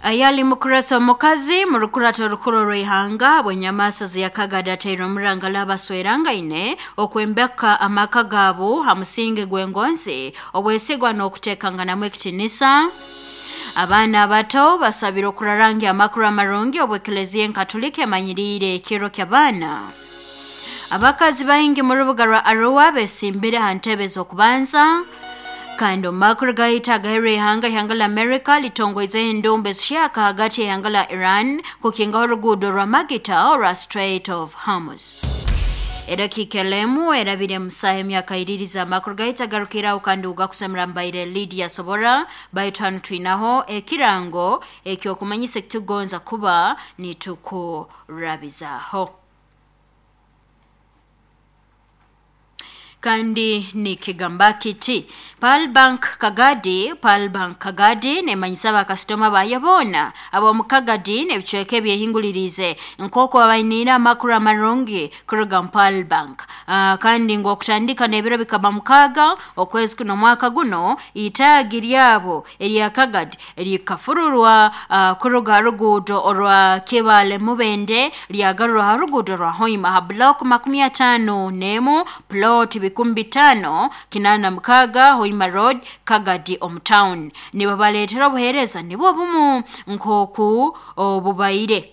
Ayali mukurasa omukazi mu rukurato orukuru orw'ihanga bwenyamasa ziyakagada ataire omurangala abaswerangaine okwembeka amaka gaabo ha musingi gw'engonzi obwesigwa n'okuteekanganamu ekitinisa. Abaana abato basabire okurarangya amakuru amarungi obw'eklezia enkatulika emanyiriire ekiro ky'abaana. Abakazi baingi mu rubuga rwa Arua besimbire ha ntebe z'okubanza. Kandi omu makuru gaitu agaheru ihanga, ihanga la America litongoizeho endumba ezihyaka hagati y'ihanga la Iran kukingaho oruguudo rwa Magita orwa Strait of Hormuz. Edakiika elemu erabire musaha emyaka iririza amakuru gaitu agarukiraho kandi ugakusemera mbaire Lydia Sobora, baitu hanu twinaho ekirango ekyokumanyisa ekitugonza kuba nitukurabizaho. Kandi nikigamba kiti Pearl Bank Kagadi. Pearl Bank Kagadi nemanyisa abakasitoma bayo boona ab'omu Kagadi n'ebicweka ebyehingulirize nk'oku babainiire amakuru amarungi kuruga mu Pearl Bank. Kandi ngu okutandika n'ebiro bikaba 6 okwezi kuno omwaka guno, itaagi lyabo erya Kagadi likafururwa kuruga ha ruguudo orwa Kibale Mubende lyagarurwa ha ruguudo rwa Hoima ha block 51 plot 5886 Hoima Road, Kagadi omu town. Nibabaleetera obuheereza nibwo bumu nk'oku obubaire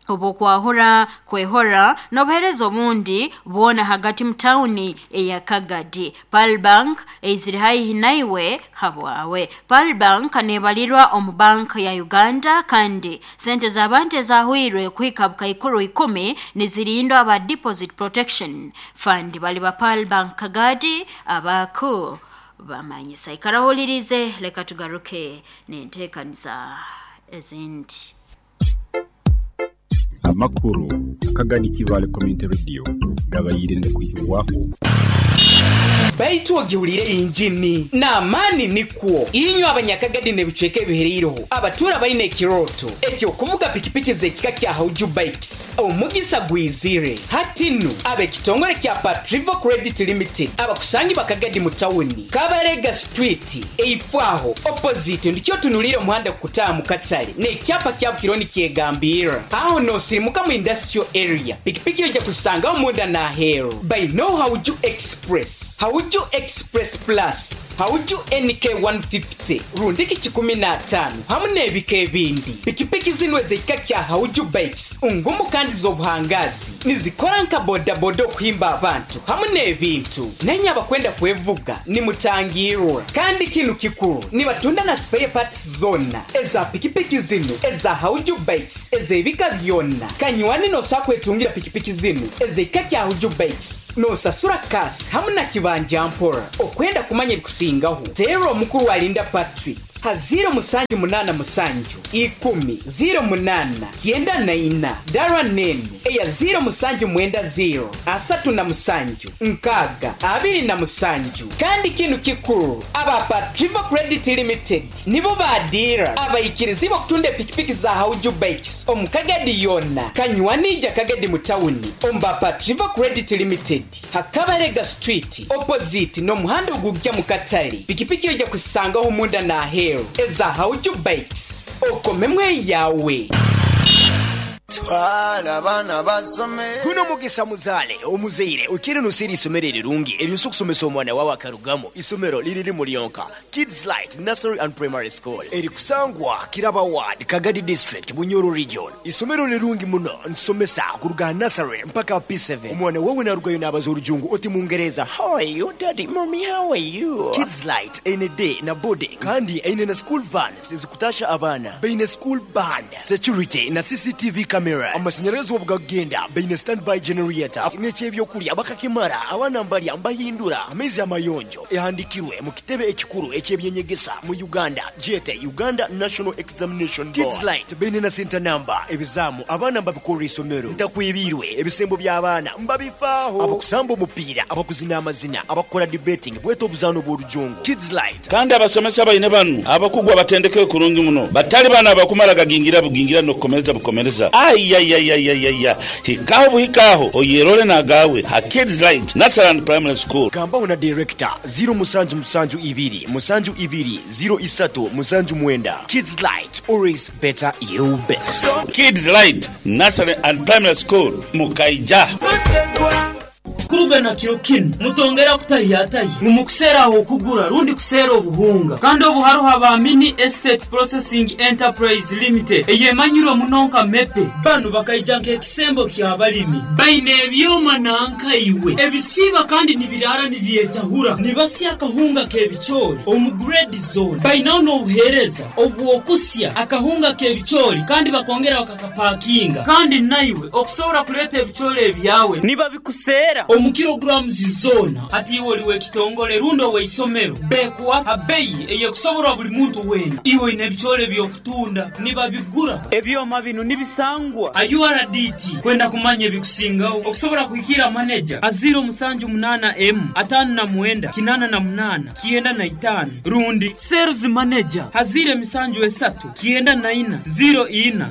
obwokwahura kwehora n'obuheereza obundi bwona hagati mu tawuni eya Kagadi. Pearl Bank eizire haihi naiwe habwawe. Pearl Bank nebalirwa omu bank ya Uganda, kandi sente z'abantu ezahwirwe kuhika bukaikuru 10 nizirindwa aba Deposit Protection Fund. Bali ba Pearl Bank Kagadi abaku bamanyisa. Ikarahulirize, leka tugaruke n'enteekaniza ezindi. Amakuru Akagadi Kibale Community Radio gabaire nigakwihibwaho. Baitu ogihuliire injini n'amaani nikwo. Inywe abanyakagadi n'ebicweka ebihereireho abatuura baine ekirooto eky'okuvuga pikipiki z'ekika kya Hauju Bikes, omugisa gwizire. Hati nu ab'ekitongore kya Patrivo Credit Limited abakusangibwa Kagadi mu tawuni, Kabarega Street, eifo aho opposite ndikyo otunuliire omuhanda kukutaaha mu katale n'ekyapa kyabo kiriho nikyegambirra. Aho n'osirimuka mu industrial area, pikipiki oija kuzisangaho munda n'aheeru. Bainoho Hauju Express, Hauju Express Plus, Hauju NK 150 rundiki kikumi n'ataano hamu n'ebika ebindi. Pikipiki zinu ez'ekika kya Hauju Bikes ngumu kandi z'obuhangaazi, nizikora nka bodaboda okuhimba abantu hamu n'ebintu. Nainye abakwenda kwevuga nimutangirwa. Kandi kinu kikuru, nibatunda na spare parts zona eza pikipiki zinu eza Hauju Bikes ez'ebika byona. Kanywani nosobola kwetungira pikipiki zinu ez'ekika kya Hauju Bikes nosasura cash hamu na kibanja mpora. Okwenda kumanya ebikusingaho, teera omukuru Alinda Patrick ha ziro musanju munana musanju ikumi ziro munana kyenda na ina, dara nenu eya ziro musanju mwenda ziro asatu na musanju nkaaga abiri na musanju. Kandi kinu kikuru, aba Patrivo Credit Limited nibo baadiira abaikirizibwa okutunda epikipiki za Hauju Bikes omu Kagadi yona. Kanywanija Kagadi mu tawuni omu ba Patrivo Credit Limited ha Kabarega Street opposite n'omuhanda ogujja mu katale. Pikipiki oija kuzisangaho munda n'aheeru eza Hauju Bikes. Okomemu eyawe. Twala abaana basome. Guno mugisa muzaale omuzaire okiire noseera eisomero erirungi eryosa okusomesa omwana wawe akarugamu. Isomero liri limu lyonka, Kids Light Nursery and Primary School, erikusangwa Kiraba Ward, Kagadi District, Bunyoro Region. Isomero lirungi muno, nitusomesa kuruga aha nursery mpaka aha P7. Omwana wawe narugayo nabaza orujungu oti Mungereza, How are you daddy, mommy how are you? Kids Light eine day na boarding kandi eine na school vans ezikutasha abaana. Baine school band, security na CCTV cameras. Amasanyarazi obugakugenda baine standby generator n'eky'ebyokulya bakakimara, abaana mbalya mbahindura amaizi amayonjo. Ehandikirwe mu kitebe ekikuru eky'ebyenyegesa mu Uganda gyete Uganda National Examination Board. Kids Light baine na center number, ebizaamu abaana mbabikorera isomero. Ntakwebiirwe, ebisembo by'abaana mbabifaaho. Abakusamba omupiira, abakuzina amazina, abakukora debating bwete obuzaano bw'orujungu. Kids Light. Kandi abasomesa baine banu abakugu abatendekeirwe kurungi muno, batali bano abakumara gagingira bugingira n'okukomereza bukomereza. Ayayayayaya, hikaho buhikaho oyerole nagawe ha Kids Light Nursery and Primary School. Gambaho na director 0772 72 03 79. Kids Light, always better you best. Kids Light Nursery and Primary School Mukaija. Kuruga na kiro kinu mutongera kutahiyatahi mumukuseera aho okugura rundi kuseera obuhunga kandi obu haruho aba Mini Estate Processing Enterprise Limited eyemanyirwe muno nka Mepe. Banu bakaija nk'ekisembo ky'abalimi, baine ebyoma nankaiwe ebisiiba kandi nibiraara nibyetahura, nibasya akahunga k'ebicoori omu grade zone. Bainaho n'obuheereza obw'okusya akahunga k'ebicoori kandi bakongera bakakapakinga, kandi naiwe okusobora kuleeta ebicoori ebyawe nibabikuseera omu kilograms zoona. Hati iwe oli w'ekitongole rundi ow'eisomero, bekuwa ha beyi eyekusoborwa buli muntu weena. Iwe oine ebicoori eby'okutunda, nibabigura. Ebyoma binu nibisangwa ha URDT. Kwenda kumanya ebikusingaho, okusobora kuhikiira maneja ha 078 M 59 88 95 rundi sales manager ha 073 94 04.